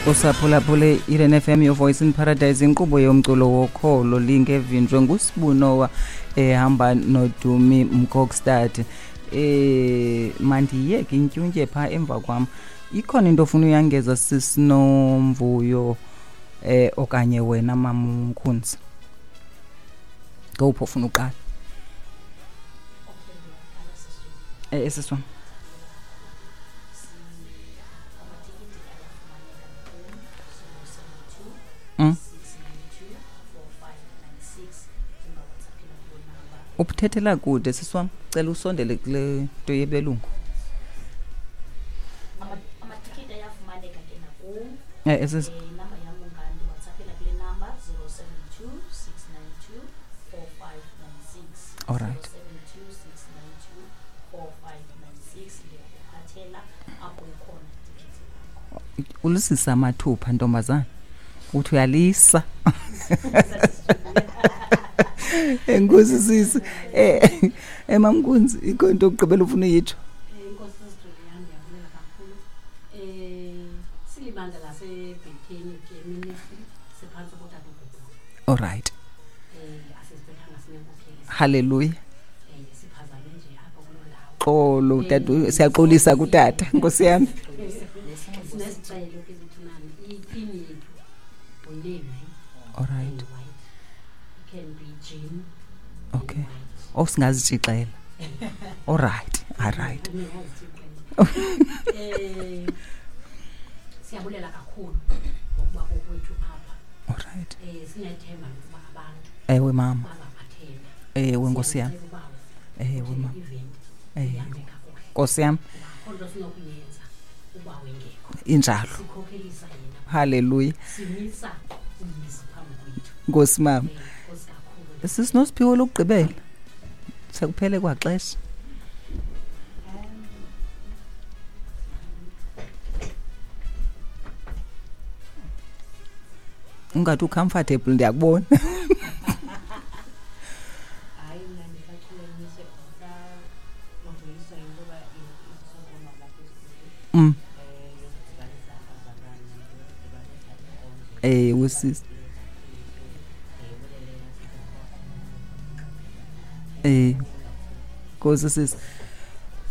Usaphulaphule Eden FM, your voice in paradise, inkqubo yomculo wokholo lingevinjwe nguSibunowa ehamba noDumi Mkokstad. Mandiyeke intyuntye phaa emva kwam. Ikhona into ofuna uyangeza sisinomvuyo okanye wena Mamkhunzi? Ngowuphi ofuna uqala? Sisi wam. Ubuthethela kude sisi wam, cela usondele kule nto yebelungu. Amatikiti ayafumaneka ke nakum. Sisi. Inamba yam ungandiwhatsappela kule number 072 692 4596. All right. 072 692 4596, ndiyakuphathela apho ukhona itikiti lakho. Ulisisa amathupha ntombazana, uthi uyalisa. Enkosi sisi. Mamnkunzi, ikho into yokugqibela ufuna uyitsho? Inkosi sisiduliya, ndiyabulela kakhulu. Silibandla laseBhetheni ke ministry, siphantsi kotata uGubhulu. All right. Asiziphethanga sinenkokheli. Hallelujah. Siphazame nje apha kuloo ndawo. Xolo, tata, siyaxolisa kutata, nkosi yami. Sinesicelo ke zithunani, ithini yethu ngunavy. All right. And white. It can be jean. And Okay. white. Oh, singazitshixela. All right, all right. Siyabulela kakhulu ngokuba kokwethu apha. All right. Sinethemba lokuba abantu Ewe mama. bazaphathela. Ewe nkosi yami. Siyacela uba Ewe mama. event Ewe. ihambe kakuhle. Nkosi yami. Akho nto sinokuyenza uba wengekho. Injalo. Sikhokhelisa yena. Hallelujah. Simisa umzi phambi kwethu. Nkosi mama. Nkosi kakhulu. Sisinosiphiwo lokugqibela. Sekuphele kwaxesha. Ungathi ucomfortable, ndiyakubona. Hayi, mna ndisachulumancise ndisavuyiswa yinto yoba isizobonwa lapha esikolweni. Yokudibanisa abazalwane, yokudibanisa inkonzo. Ewe, sisi. Nkosi sisi.